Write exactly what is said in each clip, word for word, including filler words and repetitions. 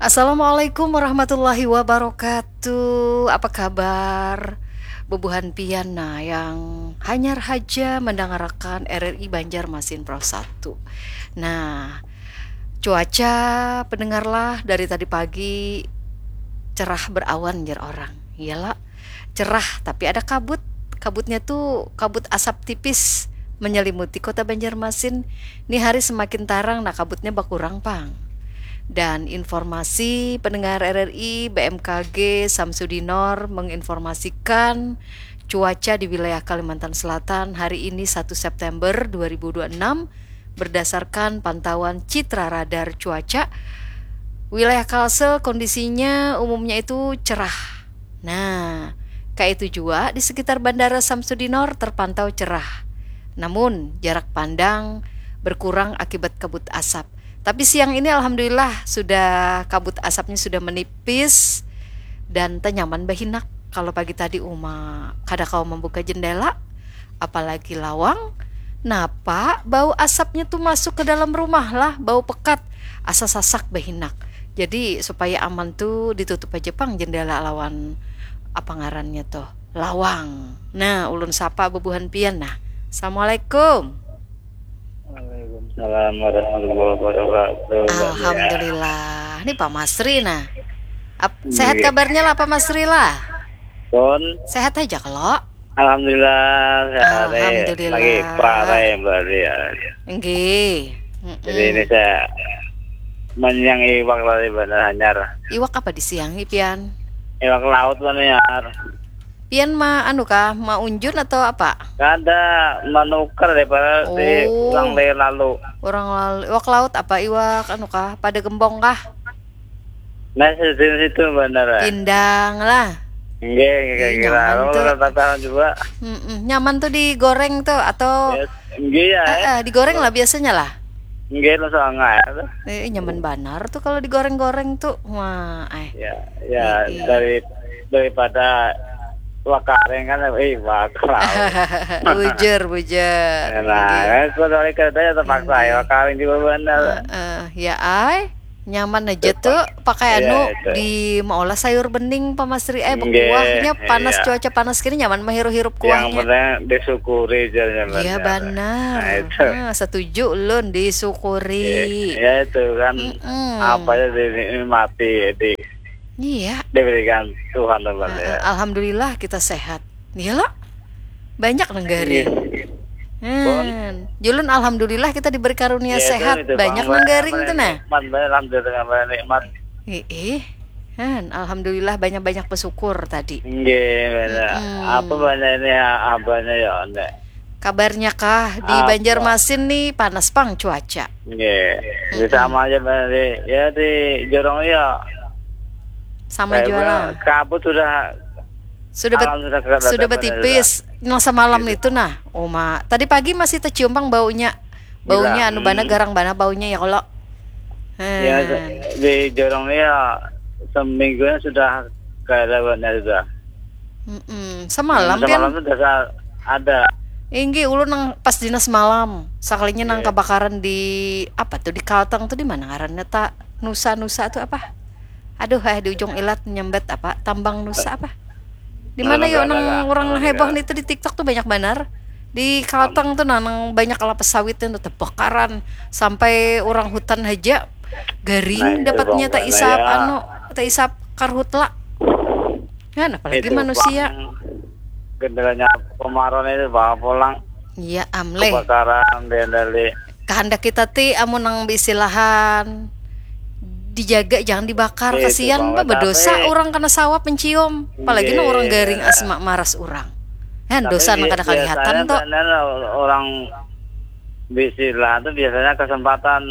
Assalamualaikum warahmatullahi wabarakatuh. Apa kabar? Bubuhan pian nah yang hanyar haja mendangarakan R R I Banjarmasin Pro satu. Nah, cuaca pendengarlah dari tadi pagi cerah berawan jer orang. Iyalah, cerah tapi ada kabut. Kabutnya tuh kabut asap tipis menyelimuti kota Banjarmasin. Ni hari semakin tarang, nah kabutnya bakurang pang. Dan informasi pendengar R R I, B M K G Samsudinor menginformasikan cuaca di wilayah Kalimantan Selatan hari ini satu September dua ribu dua puluh enam berdasarkan pantauan citra radar cuaca. Wilayah Kalsel kondisinya umumnya itu cerah. Nah, kayak itu juga di sekitar Bandara Samsudinor terpantau cerah. Namun, jarak pandang berkurang akibat kabut asap. Tapi siang ini alhamdulillah sudah, kabut asapnya sudah menipis dan tenyaman bahinak. Kalau pagi tadi uma kada kawa membuka jendela, apalagi lawang. Napa bau asapnya tuh masuk ke dalam rumah lah, bau pekat, asa sasak bahinak. Jadi supaya aman tuh ditutup aja pang jendela lawan apa ngarannya tuh, lawang. Nah, ulun sapa bubuhan pian nah. Assalamualaikum. Waalaikumsalam warahmatullahi wabarakatuh. Alhamdulillah. Ini Pak Masri nah. Ap, sehat kabarnya lah Pak Masri lah? Kon. Sehat aja kalau. Alhamdulillah, sehat. Alhamdulillah. Lagi prarai berarti ya. Nggih. Jadi ini saya menyiang iwak tadi Bandar Hanyar. Iwak apa disiangi pian? Iwak laut Bandar Hanyar. Pian ma anu kah, ma unjun atau apa? Kada, manukar daripada di Oh. Urang Laya lalu. Urang lalu. Iwak laut apa, iwak anu kah, pada gembong kah? Nah, sejenis itu Bandar. Pindang lah. Nggih, nggih, Ih, kira nyaman aku tuh. Rata-rata juga. Mm-mm. Nyaman tuh digoreng tuh atau Ya, nggih ya. Eh, eh, digoreng lah biasanya lah. Nggih, langsung angah ya. Eh, nyaman banar tuh kalau digoreng-goreng tuh. Wah, eh. Ya, ya Iya. dari daripada wakaring kan, eh, wakal. Bujur, bujur. Nah, kan kalau dari kereta ya terpaksa ya wakaring juga Bandar. Eh, ya ai, nyaman aja tuh pakai Iya, anu itu. Di meolah sayur bening Pak Masri eh Nggih, bekuahnya panas iya. Cuaca panas gini nyaman menghirup-hirup Yang kuahnya. Penting disyukuri aja. Iya benar. Nah, itu. Ah, setuju ulun disyukuri. Ya itu kan Mm-mm. apa ya dinikmati di Iya. diberikan Tuhan teman Ah, ya. Alhamdulillah kita sehat. Iya lo. Banyak nang garing. Hmm. Julun alhamdulillah kita diberi karunia Ya, itu, sehat. itu, Banyak Bang, nang garing tuh nah. Nikmat banget, alhamdulillah banyak nikmat. Ih, ih. Han, alhamdulillah banyak-banyak bersyukur tadi. Nggih, benar. Mm-mm. Apa banyak ini ya, abahnya ya, Nek? Kabarnya kah di Apa? Banjarmasin nih panas pang cuaca. Nggih. Di sama aja Bang, di, ya di Jorong ya. Sama Kayak juga bilang, lah. Kabut sudah Sudah bet- alam sudah kelihatan sudah benar betipis. Nah semalam itu nah, Uma. Tadi pagi masih tercium pang baunya. Baunya Gila, anu bana hmm. garang bana baunya ya kalau. Ya, Hmm. di Jorong ini ya seminggunya sudah kayak ada banyak sudah. Mm-mm. Semalam pian Semalam sudah sa- ada. Inggih ulun nang pas dinas malam. Sakalinya nang Iya. Kebakaran di apa tuh di Kalteng tuh di mana ngarannya ta Nusa Nusa tuh apa? Aduh eh di ujung ilat nyambat apa? Tambang Nusa apa? Di mana Nang yo mana nang lah? Orang Nang heboh mana? Nih tuh di TikTok tuh banyak banar. Di Kalteng tuh nah nang banyak kelapa sawit tuh tebakaran sampai orang hutan aja garing Nah, itu dapatnya tak bang, isap ya. Anu tak isap karhutla. Kan apalagi Itu, manusia. Bang, gendernya kemarin itu bawa pulang Iya amleh. Kebakaran bendali. Kehendak kita ti amun nang bisilahan dijaga jangan dibakar. Itu, Kasihan Bang, bah berdosa tapi orang kena sawap mencium. Apalagi nang orang Iya. Garing asma maras orang. Kan Tapi dosa nang bi- kada kelihatan biasanya tuh. Benar orang bisilahan tuh biasanya kesempatan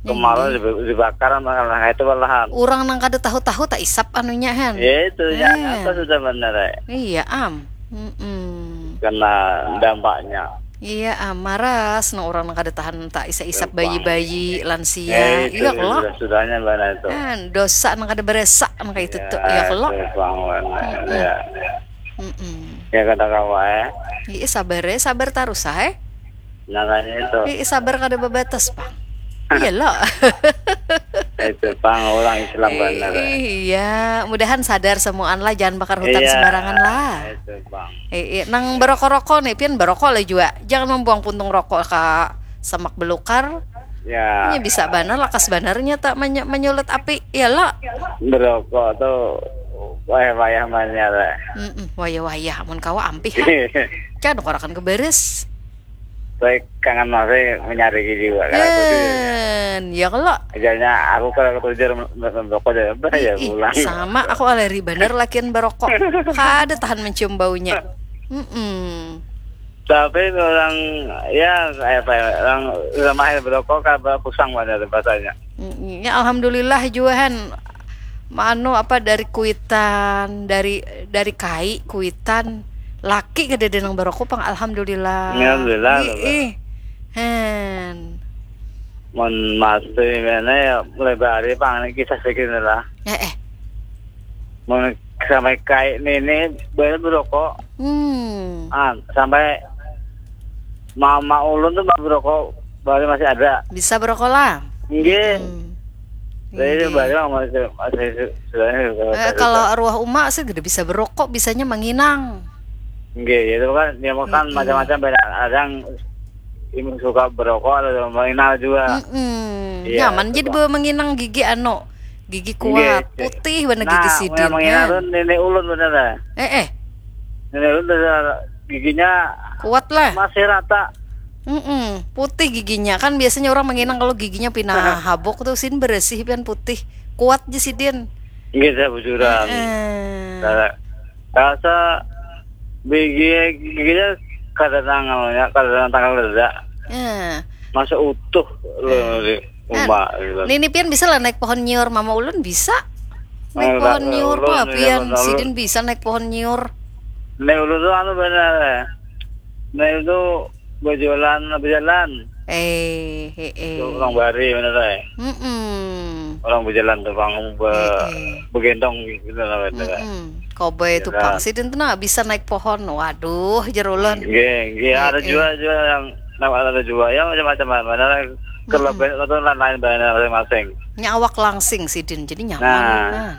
kemarin Iya. dibe- dibakar malah itu malahan. Orang nang kada tahu-tahu tak isap anunya kan. Ya itu ya Iya. Apa sudah benar ya. Iya am. Mm-mm. Kena dampaknya. Iya am maras nang orang nang kada tahan tak isap-isap Gampang. Bayi-bayi lansia. Ya, itu Iya kalau. Sudah sudahnya benar itu. Kan dosa nang kada beresa nang kayak itu tuh. Iya kalau. Itu bang benar. Ya. Mm-mm. Ya kata kamu ya. Iya sabar ya, sabar terus ah eh. Makanya itu. Ih, sabar kada babatas pang. Iya lo. Itu Pang orang Islam banar. Iya, mudahan sadar semuaan lah, jangan bakar hutan Iya, sembarangan lah. Itu bang. Eh, eh, nang berokok-rokok nih, pian berokok lah juga. Jangan membuang puntung rokok ke semak belukar. Ya, Ini bisa banar, lakas banarnya tak menye- menyulut api, ya lo. Berokok tuh wayah-wayah manyara. Mm-mm, wayah-wayah, amun kawa ampih ha. Can korakan ke beres. Saya kangen masih menyariki juga karena itu sih. Kan, ya kalau Ajalnya aku kalau ketujuh merokok aja apa ya Ih, pulang. Sama, aku aleri banar lakian berokok. Kada tahan mencium baunya. Mm-mm. Tapi orang ya apa ya, orang sudah mahir berokok kan kusang banyak rasanya. Mm, ya, alhamdulillah juga han. Anu apa, dari kuitan, dari dari kai kuitan, laki kada ada nang berokok pang, alhamdulillah. Alhamdulillah, Ih, Bapak. Ih. Hen. Mun masih mana ya mulai bahari pang ini kisah sedikit lah. Eh eh. Mun sampai kai nini banyak berokok. Hmm. Ah, sampai mama ulun tuh masih berokok, baru masih ada. Bisa berokok lah. Nggih. Hmm. Jadi itu Nggih. Baru masih masih sebenarnya Eh, kalau arwah uma sih gede bisa berokok, bisanya menginang. Nggih, itu kan dia makan Mm-mm. Macam-macam banyak. Ada yang ini suka berokok, ada yang menginang juga. Mm-mm. Iya, Nyaman jadi coba. Bawa menginang gigi anu, gigi kuat, Nggih. Putih bener Nah, gigi yang sidin menginang kan. Tuh nenek ulun bener lah. Eh eh. Nenek ulun tuh giginya Kuat lah. Masih rata. Mm-mm. Putih giginya kan, biasanya orang menginang kalau giginya pina habok tuh, sin beresih pian putih, kuat je sidin. Nggih, saya bujuran. Eh. Nah, rasa bigi giginya kada nang anunya, kada nang tanggal reda. Eh. Masa utuh loh di uma gitu. Nini pian bisa lah naik pohon nyiur, mama ulun bisa naik Eh, pohon lah, nyiur ulun pa bisa pian, lalu. Sidin bisa naik pohon nyiur. Nah, ulun tuh anu benar. Nah, itu berjalan, berjalan. Eh, he eh. Itu orang bari benar eh. Mm-mm. Orang berjalan tuh bang be, Eh, eh. Begendong gitu lah benar. Mm-mm. Cowboy itu Ya. pang. Sidin tuh nah bisa naik pohon. Waduh, jer ulun. Nggih, nggih, ada Eh, juga juga yang nama ada juga ya macam-macam mana kelebihan atau lain-lain banyak masing-masing. Nya awak langsing sidin, jadi nyaman Nah. Nah.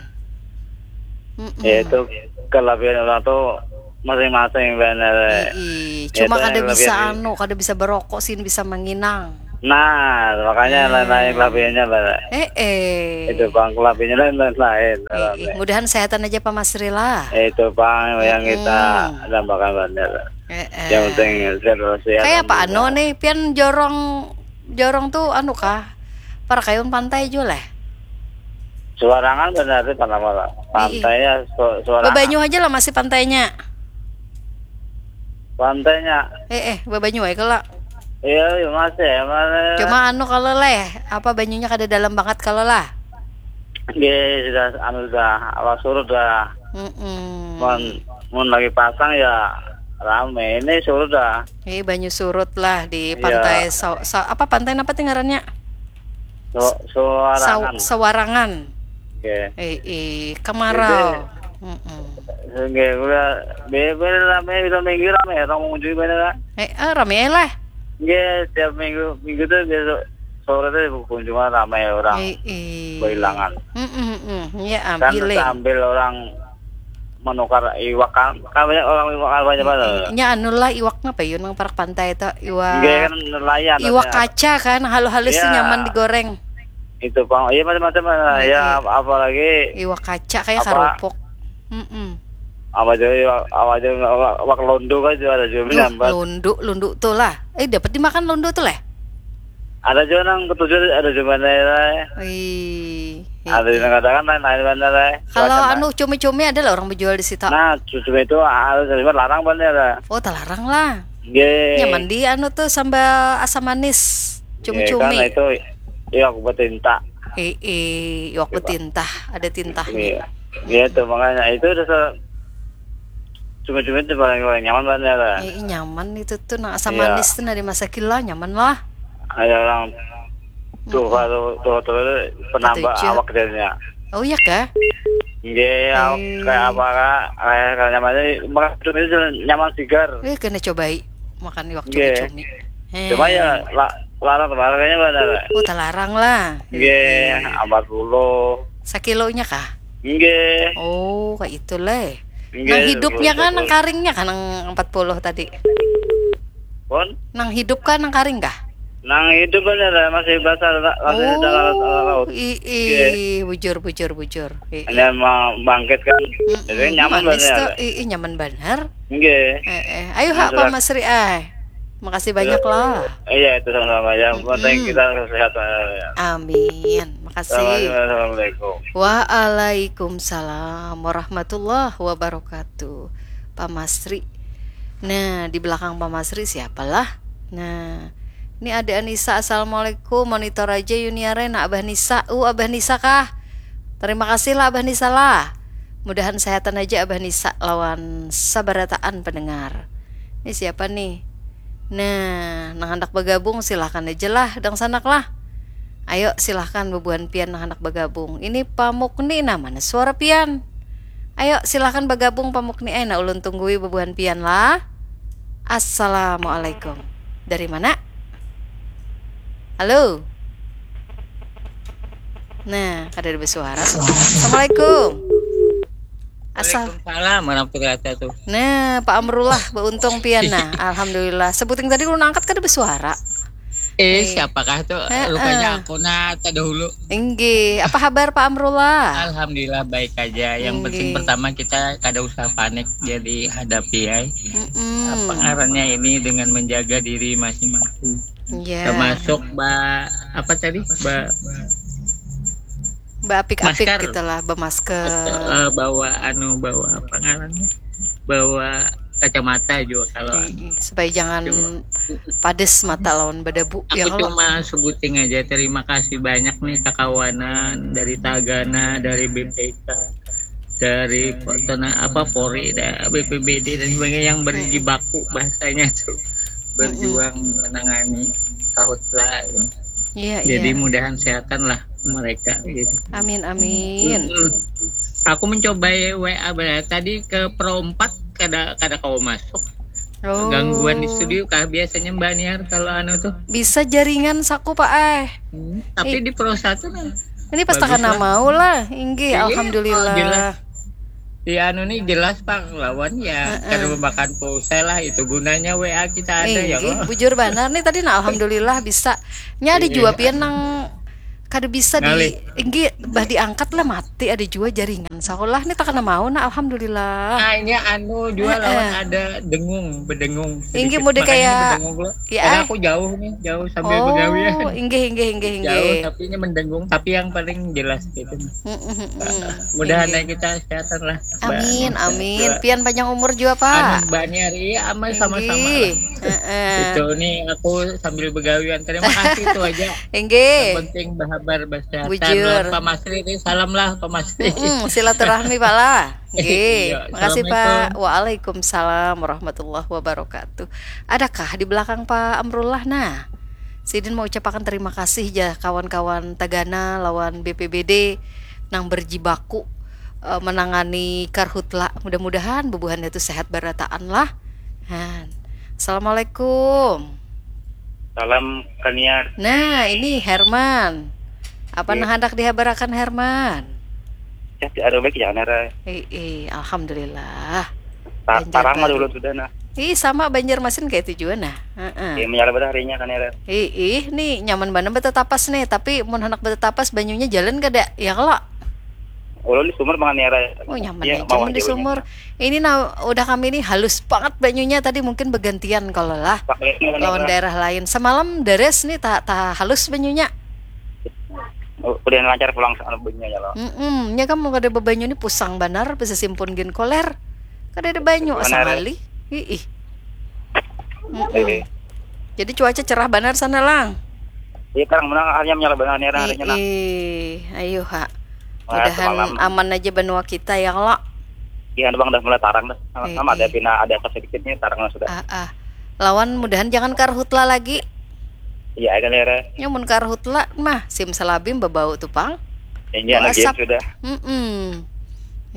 Mm-mm. Ya itu kelebihan orang tuh masing-masing benar. Ii, Ya, cuma itu kada yang bisa kelebihan. Anu, kada bisa berokok, sin bisa menginang. Nah, makanya lain-lain kelebihannya benar. Eh eh. Itu bang kelebihannya lain-lain. Eh, eh, mudahan sehatan aja Pak Masri lah. Itu bang yang kita Mm-mm. Tambahkan benar. Eh, eh. Yang penting sehat walafiat. Kayak apa anu Alhamdulillah. Nih, pian jorong jorong tuh anu kah? Parakayun pantai jua lah. Suarangan benar sih, panama lah. Pantainya su- suarangan. Babanyu aja lah masih pantainya. Pantainya. Eh eh, babanyu aja lah. Iya, iya, masih ya, mana? Cuma anu kalau leh, apa banyunya kada dalam banget kalau lah. Nggih, sudah anu sudah awal surut dah. Mm-mm. Mun mun lagi pasang ya rame. Ini surut dah. Ini banyu surut lah di Iya. Pantai Sa- Sa- apa pantai apa ngarannya? Su- Suarangan. Sa- Sawarangan. Nggih. Eh, eh, kemarau. Mm-mm. Nggih, udah be- be- rame udah minggu rame ya, orang mengunjungi banyak lah. Eh, eh, rame lah. Nggih, tiap minggu minggu tuh biasa sore tuh kunjungan rame orang Eh, eh. Berhilangan. Mm-mm, mm-mm. Ya, Kan ambil. Sambil orang menukar iwak kan, kan banyak orang iwak kan banyak banget. Nya anu lah iwak apa yun nang parak pantai itu? Iwak Nggih kan nelayan. Iwak Banyak. Kaca kan, halus-halus tuh Iya. Nyaman digoreng. Itu bang, iya macam-macam lah. Ya ap- apalagi Iwak kaca kayak Apa? Karupuk. Mm-mm. Apa aja iwak, apa aja iwak, iwak londo kan juga ada juga Duh, menyambat. Lundu, lundu tuh lah. Eh, dapat dimakan lundu tuh lah. Ada juga nang ketujuh ada juga nih lah. Ih. Ada yang katakan lain-lain mana lah. Kalau Macam anu cumi-cumi ada lah orang berjual di situ. Nah, cumi itu harus cuma larang bener lah. Oh, terlarang lah. Nggih. Nyaman di anu tuh sambal asam manis. Nggih, kan Cumi-cumi. Itu iya aku bertinta. Eh, eh, iwak Coba. Bertintah, ada tintah. Iya. Iya tuh makanya itu udah se- cumi-cumi itu paling paling nyaman bener lah. Eh, nyaman itu tuh nah asam Iya. Manis tuh nah di masa kila nyaman lah. Ada orang tua tuh tua tuh penambah Katuju. Awak jadinya. Oh iya kah? Nggih, awak Eh. Kayak apa kak? Kayak kayak nyamannya makan cumi itu nyaman sigar. Eh, kena cobai makan iwak Nggih. cumi-cumi. Eh. Cuma ya lah Larang, larangnya mana? Oh, talarang lah. Nggih, empat puluh. Sakilonya kah? Nggih. Oh, kayak itu leh. Nggih, Nang hidupnya kah, nang karingnya kah, nang empat puluh tadi? Pun? Nang hidup kah, nang karing kah? Nang hidup kan ada masih basah, masih dalam laut. Oh, ii, bujur, bujur, bujur. Ii. Hanya mau bangkit kan. Jadi nyaman Manis banget. Tuh. Ii, nyaman banar. Nggih. Eh, eh. Ayo, Hak, Pak Masri, eh. Makasih banyak lah. Iya, itu sama-sama ya. Penting kita sehat. Amin. Makasih. Assalamualaikum. Waalaikumsalam warahmatullahi wabarakatuh. Pak Masri. Nah, di belakang Pak Masri siapalah? Nah, ini ada Anissa. Assalamualaikum. Monitor aja Yuniare. Nah, Abah Nisa. Uh, Abah Nisa kah? Terima kasih lah, Abah Nisa lah. Mudahan sehatan aja Abah Nisa lawan sabarataan pendengar. Ini siapa nih? Nah, nang handak bergabung silahkan aja lah, dangsanak lah. Ayo, silahkan bebuhan pian nang handak bergabung. Ini Pak Mukni, nah, mana suara pian? Ayo, silahkan bergabung Pak Mukni. Eh, nah, ulun tunggui bebuhan pian lah. Assalamualaikum. Dari mana? Halo. Nah, kada ada bersuara. Assalamualaikum. Asal. Waalaikumsalam warahmatullahi wabarakatuh. Nah, Pak Amrullah, beruntung pian nah. Alhamdulillah. Sebuting tadi ulun angkat kada bersuara. Eh, siapakah tuh? Rupanya aku nah terdahulu. Inggih, apa kabar Pak Amrullah? Alhamdulillah baik aja. Yang penting pertama kita kada usah panik, jadi hadapi ya. Mm-mm. Apa ngarannya ini dengan menjaga diri masing-masing. Iya. Termasuk ba apa tadi? Ba Beapik-apik Masker. Gitu lah, bermasker. Eh, bawa anu bawa apa ngarannya? Bawa kacamata juga kalau anu. Supaya jangan padas mata lawan berdebu, Aku ya kalau. Cuma sebuting aja, terima kasih banyak nih kakawanan dari Tagana, dari B P K, dari tena- apa Polri, da- B P B D dan sebagainya yang berjibaku bahasanya tuh berjuang menangani kahutla. Iya, Jadi iya. Mudahan sehatan lah mereka gitu. Amin, amin. Mm. Aku mencoba W A berarti tadi ke Pro empat kada kada kau masuk. Oh. Gangguan di studio kah biasanya Mbak Niar kalau anu tuh? Bisa jaringan saku, Pak, eh. Hmm, tapi di Pro satu nah. Ini pas takana mau lah, inggih, Iya, alhamdulillah. Oh, jelas. Di anu nih jelas Pak lawan ya kada memakan pulsa lah, itu gunanya W A kita ada ya Inggih, kok. Bujur banar nih tadi, nah, alhamdulillah bisa. Nya ada jua pian nang kada bisa di Ngalih. Inggih, bah diangkat lah mati, ada jua jaringan. Sekolah nih takana mau, nah, alhamdulillah. Nah, ini anu juga lawan ada dengung, bedengung. Inggih, Sedikit. Muda, Makanya kayak ini bedengung lo. Ya, Karena ah. Aku jauh nih, jauh sambil Oh, begawi ya. Inggih, inggih, inggih, Jauh inggih. Tapi ini mendengung, tapi yang paling jelas gitu. Mm, mm, mm, mm. Mudahan Inggih. Ya kita kesehatan lah. Amin, Mbak. Amin. Pian panjang umur juga, Pak. Anu, Mbak Niar, iya, aman sama-sama Inggih. Lah. Heeh. Itu nih aku sambil begawian. Terima kasih itu aja. Inggih. Yang penting berhabar bahasa Bujur. Pak Masri ini salam lah Pak Masri. Mm-mm, silaturahmi, Pak lah. Nggih. Iya, Makasih, Pak. Assalamualaikum. Waalaikumsalam warahmatullahi wabarakatuh. Adakah di belakang Pak Amrullah? Nah, sidin mau ucapakan terima kasih ja kawan-kawan Tagana lawan B P B D nang berjibaku eh, menangani karhutla. Mudah-mudahan bubuhannya tu sehat barataan lah. Han. Assalamualaikum. Salam Kaniar. Nah, ini Herman. Apa Iya. Nah, hendak dihabarakan Herman? Ya, ada baik ya Nara. Eh, eh, alhamdulillah. Ta- Banjar Tarang ada Bali. Ulun sudah nah. Ih, sama Banjarmasin kayak itu juga nah. Heeh. Ya menyala pada harinya Kaniar. Ih, ih, nih nyaman banget betetapas nih, tapi mun hendak betetapas banyunya jalan kada? Ya kalau. Ulun di sumur mangan Nara. Oh, nyaman Iya, aja bawah mun di jauhnya. Sumur. Ini nah udah kami nih halus banget banyunya tadi, mungkin bergantian kalau lah Pakai ini lawan Nara. Daerah lain. Semalam deres nih tak tak halus banyunya. Udah lancar pulang sana bunyinya ya lo. Mm-mm. Nya kan mun kada bebanyu nih pusang banar, bisa simpun gin koler. Kada ada banyu Benar. Asal kali. Ih. Mm-mm. Eh, Jadi cuaca cerah banar sana lang. Iya tarang menang harinya menyala benar Nara harinya nah. Ih, ayo ha. Wah, Mudahan semalam. Aman aja benua kita ya kalau. Iya bang dah mulai tarang dah. Sama, Eh, sama ada eh. pina ada apa sedikitnya tarang sudah. Ah, ah. Lawan mudahan jangan karhutla lagi. Iya kan Nara. Nyamun karhutla mah simsalabim bebau tuh pang. Ini anak Asap. Game sudah. Mm-mm.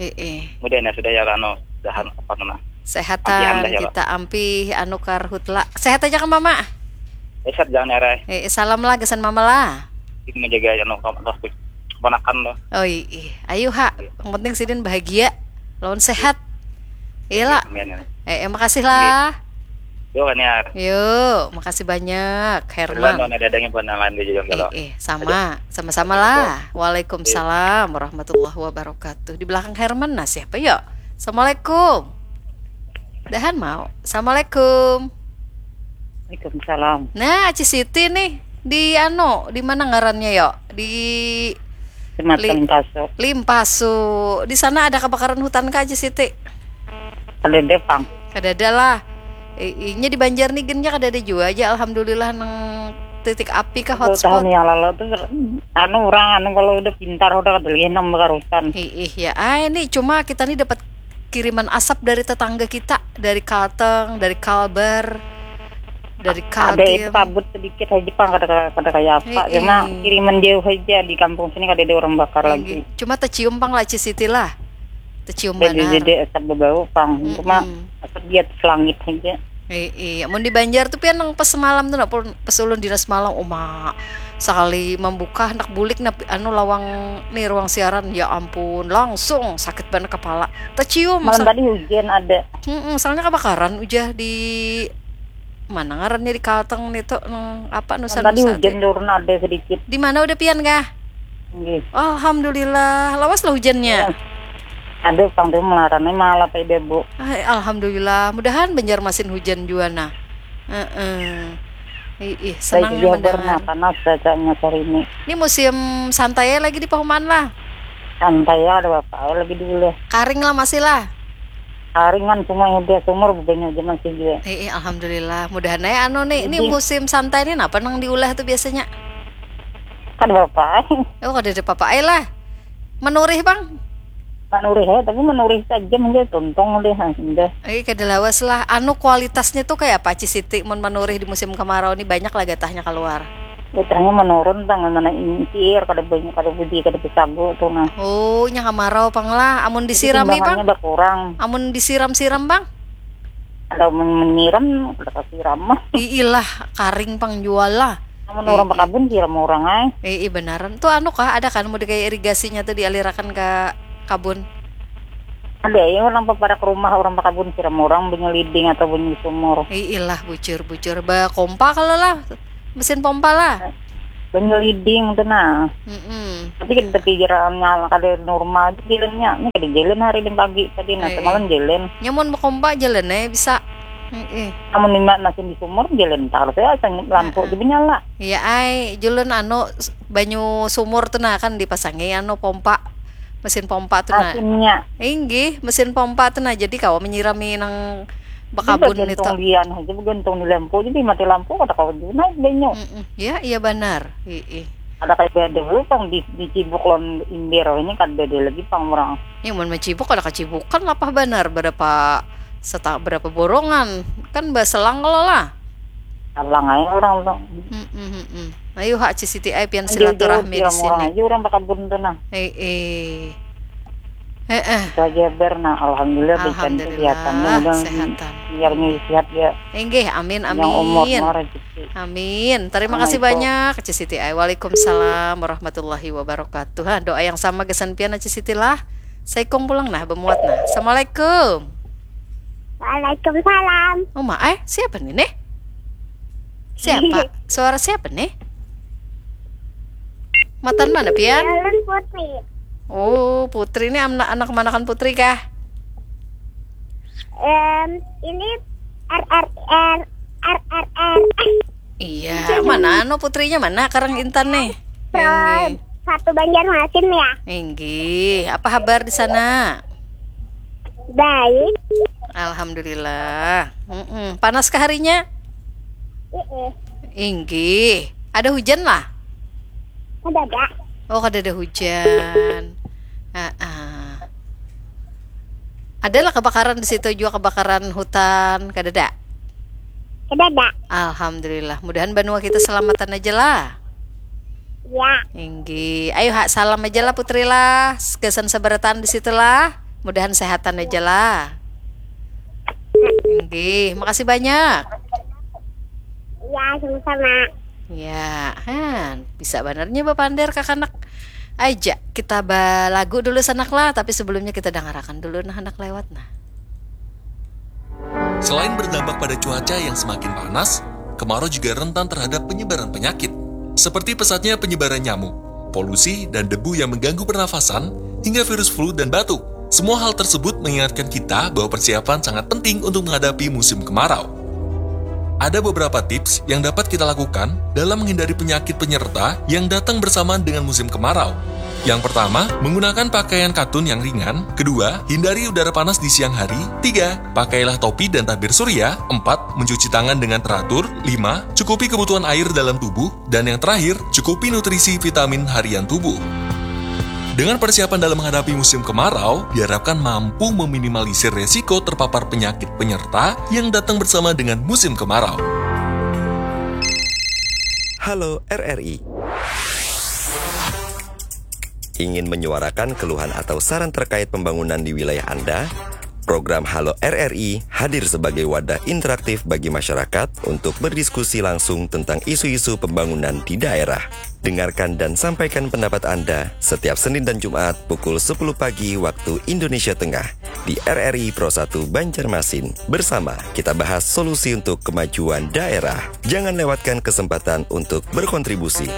Eh, eh. Mudah ya sudah ya Rano. Dahan apa nah. Sehatan Ampihan dah ya, kita ampih anu karhutla. Sehat aja kan Mama? Eset jangan erai. Eh, salam lah gasan mama lah. Ini menjaga anu kawan tuh, keponakan tuh. Oh iya, ayo ha. Yang penting sidin bahagia, lawan sehat. Iya lah. Amin, amin. Eh, eh, makasih lah. Yo kan ya. Yo, makasih banyak, Herman. Ada ada yang buat lain juga. Eh, eh, sama, sama-sama lah. Waalaikumsalam warahmatullahi wabarakatuh. Di belakang Herman nah siapa yo? Assalamualaikum. Dahan mau. Assalamualaikum. Waalaikumsalam. Nah, Aci Siti nih di anu, di mana ngarannya yo? Di Kecamatan Li- Limpaso. Limpaso. Di sana ada kebakaran hutan kah, Aci Siti? Kadada pang. Kadada lah. I- inya di Banjar nih gennya kadada jua aja, alhamdulillah, nang titik api kah, hotspot. Tahun yang lalu tuh anu orang anu kalau udah pintar udah kadalian nang bakarutan. Ih, ih, ya, ah, ini cuma kita nih dapat kiriman asap dari tetangga kita, dari Kalteng, dari Kalbar, dari Kaltim. Ada itu kabut sedikit aja pang, kada kada kayak apa. Cuma kiriman jauh aja, di kampung sini kada ada orang bakar lagi. Cuma tercium pang lah, Ci Siti lah. Tercium banar. Jadi asap bebau pang. Cuma asap di atas langit aja. Iya, mun di Banjar tuh pian nang pas semalam tuh, nah, pas ulun dinas malam, uma, sekali membuka hendak bulik, nah, anu, lawang nih, ruang siaran, ya ampun, langsung sakit banget kepala, tercium. Malam tadi hujan ada. Mm-mm, soalnya kebakaran ujar di mana ngarannya, di Kalteng nih tuh, nang apa, Nusa Dua. Tadi hujan turun ada sedikit. Di mana udah pian kah? Nggih. Alhamdulillah, lawas lah hujannya. Aduh, pang tu melarangnya malah tadi bu. Ay, alhamdulillah, mudahan Banjarmasin hujan jua nah. Heeh. Ih, ih, senangnya mendengar. Panas cuacanya hari ini. Ini musim santai lagi di pahumaan lah. Santai ya, ada apa lagi dulu. Karing lah masih lah. Karingan semua udah sumur banyak aja masih juga. Ih, ih, alhamdulillah. Mudahan ya anu nih, ini musim santai nih, apa nang diulah tuh biasanya? Kada apa-apa. Oh, kada ada apa-apa ai lah. Menurih, Bang? Menurih ya, tapi menurih saja mungkin tuntung deh, nah, sudah. Eh, kada lawas lah. Anu, kualitasnya tuh kayak apa, Ci Siti? Mun menurih di musim kemarau nih banyak lah gatahnya keluar. Gatahnya menurun, Bang, mana incir, kada banyak, kada budi, kada besagu tuh nah. Oh, nya kemarau pang lah. Amun disirami, Bang? Timbangannya berkurang. Amun disiram-siram, Bang? Kalau men- menyiram, kada kasiram mah. Iilah, karing pang jual lah. Amun orang bakabun siram orang ai. Ii, banaran. Tuh anu kah, ada kan mau kayak irigasinya tuh dialirakan ke kabun? Ada ya, orang paparak rumah, orang bakabun siram orang, banyu liding atau banyu sumur. Iilah, bucur-bucur. Bakompa kalau lah, mesin pompa lah. Banyu liding tuh nah. Mm-mm. Tapi kita pikiran nyala kada normal aja jalannya. Ini kada jalan hari dan pagi tadi, nah, semalam jalan. Nyamun bakompa jalan eh bisa. Heeh. Amun lima nasi di sumur, jalan tarus ya, sang lampu di menyala. Iya ai, julun anu, s- banyu sumur tu nah kan dipasangi anu pompa, mesin pompa tu nah. Asinnya. Inggih, mesin pompa tu nah, jadi kawa menyirami nang bakabun itu. Gantung lian aja, gantung di lampu, jadi mati lampu kada kawa juga naik banyu. Mm-mm. Ya, iya banar. Ii. Ada kayak beda dulu pang di, di cibuk lawan imbir ini kada ada lagi pang orang. Ya, mun macibuk kada kacibukan lapah banar, berapa seta berapa borongan, kan baselang kalau lah. Alang aja orang tu. Mm-mm, mm-mm. Ayo ha, Ci Siti ai pian silaturahmi di sini. Aja orang bakabun tu nah. Eh, eh. Heeh. Saja ber nah, alhamdulillah berikan kesehatannya, mudah sehatan. Biar sehat ya. Inggih, amin, amin. Yang umur rezeki. Amin. Terima kasih banyak, Ci Siti ai. Waalaikumsalam warahmatullahi wabarakatuh. Ha, doa yang sama gasan pian, Ci Siti lah. Saikung pulang nah, bemuat nah. Assalamualaikum. Waalaikumsalam. Oh, ma, eh, siapa nih, nih? Siapa? Suara siapa nih? Matan mana, pian? Ulun Putri. Oh, Putri ini anak, anak kemanakan Putri kah? Em, ini R R R, R R R. Iya, mana anu putrinya mana? Karang Intan nih. Pro Inggih. Satu Banjarmasin ya. Inggih, apa kabar di sana? Baik. Alhamdulillah. Mm-mm. Panas kah harinya? Heeh. Inggih. Ada hujan lah? Kada ada. Oh, kada ada hujan. Ah, ah. Ada lah kebakaran di situ juga, kebakaran hutan, kada ada? Kada ada. Alhamdulillah. Mudahan banua kita selamatan aja lah. Ya. Inggih. Ayo ha, salam aja lah Putri lah. Gasan sabarataan di situ lah. Mudahan sehatan aja lah. Inggih. Makasih banyak. Ya, sama-sama. Ya, han, bisa banar nya bapander kakanak. Aja, kita balagu dulu sanak lah, tapi sebelumnya kita dangarakan dulu nah handak lewat nah. Selain berdampak pada cuaca yang semakin panas, kemarau juga rentan terhadap penyebaran penyakit, seperti pesatnya penyebaran nyamuk, polusi, dan debu yang mengganggu pernafasan, hingga virus flu dan batuk. Semua hal tersebut mengingatkan kita bahwa persiapan sangat penting untuk menghadapi musim kemarau. Ada beberapa tips yang dapat kita lakukan dalam menghindari penyakit penyerta yang datang bersamaan dengan musim kemarau. Yang pertama, menggunakan pakaian katun yang ringan. Kedua, hindari udara panas di siang hari. Tiga, pakailah topi dan tabir surya. Empat, mencuci tangan dengan teratur. Lima, cukupi kebutuhan air dalam tubuh. Dan yang terakhir, cukupi nutrisi vitamin harian tubuh. Dengan persiapan dalam menghadapi musim kemarau, diharapkan mampu meminimalisir resiko terpapar penyakit penyerta yang datang bersama dengan musim kemarau. Halo R R I. Ingin menyuarakan keluhan atau saran terkait pembangunan di wilayah Anda? Program Halo R R I hadir sebagai wadah interaktif bagi masyarakat untuk berdiskusi langsung tentang isu-isu pembangunan di daerah. Dengarkan dan sampaikan pendapat Anda setiap Senin dan Jumat pukul sepuluh pagi waktu Indonesia Tengah di R R I Pro satu Banjarmasin. Bersama kita bahas solusi untuk kemajuan daerah. Jangan lewatkan kesempatan untuk berkontribusi.